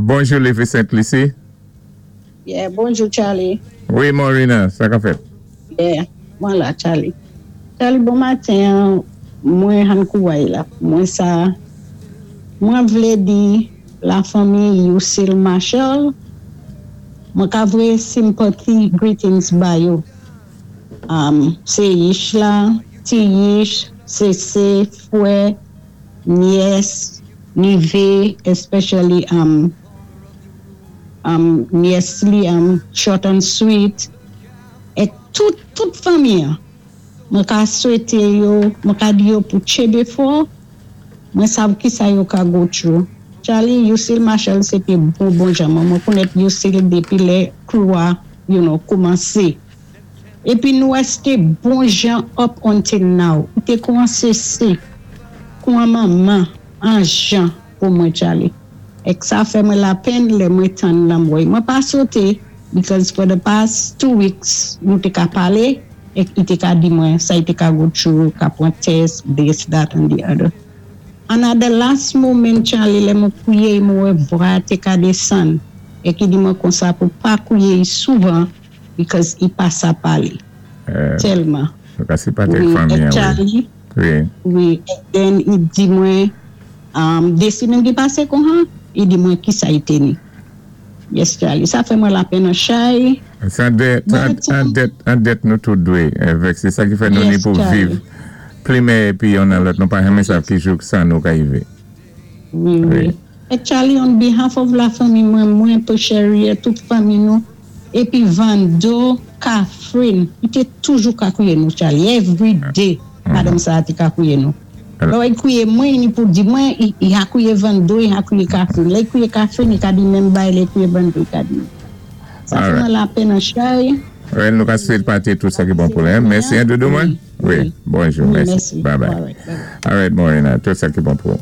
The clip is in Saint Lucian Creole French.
Bonjou Levi Sent Lisi. Yeah, bonjou Charlie. Wi Morina, sa ka fèt? Yeah, mwen la Charlie. Charlie, bon maten, mwen han kouway la. Mwen sa, mwen vlé di la fanmi Yousil Marshall, mwen ka voyé sympathy greetings ba yo. Um, sé Yish la, ti Yish, Sese, Fwè, Nyès, Nive, especially um, um, nyès li um, short and sweet, é tout, tout fanmi an. Mwen ka swété yo, mwen ka di yo pou tjenbé fò, mwen sav ki sa yo ka go through. Charlie, Yousil Marshall sé té bon bon jan mwen. Mwen konnèt Yousil dépi lè crew a, koumansé. Épi nou résté bon jan up until now. I té kou an sese, kou an manman, an jan pou mwen Charlie. Ek sa fè mwen lapenn lè mwen tann lanmò. Mwen pa soté because for the past 2 weeks nou té ka palé ek i té ka di mwen sa i té ka go through, ka pwan test, this, that and the other. And at the last moment Charlie lè mwen kwié mwen wè vwa té ka désann ek i di mwen konsa pou pa kwié souvan because i pa sa palé. Tèlman. Nou ka sipatè Wi, fanmi ek an, wi. Charlie. Wi. Wi, ek then i di mwen, dé simenn ki pasé kon han, i di mwen ki sa i té ni. Yes Charlie, sa fè mwen lapenn an chay. Sé an dèt, Mwen an dèt, an dèt nou tout dwé vèk. Sé sa ki fè nou ni Yes pou viv Charlie. plimen épi youn nan lòt. Nou pa janmen sav ki jou sa nou ka yivé. Wi, wi. Wi. Ek Charlie, on behalf of la fanmi mwen, mwen pou Sherry, tout fanmi nou, épi Vando, Catherine, i té toujou ka kwié nou Charlie, every day, madanm sa té ka kwié nou. Lò i kwié mwen, ni pou di mwen, i, i a kwié Vando, i a kwié Catherine. Lè i kwié Catherine, i ka di menm bay, lè i kwié Vando, i ka di menm. Sa fè mwen lapenn an chay. Wi, nou ka swété tout sa ki bon pou lè. Mèsi, an doudou mwen? Wi. Wi, bonjou, Wi, mèsi. Mèsi. Bye bye. All right, bye bye. All right, Morena, tout sa ki bon pou.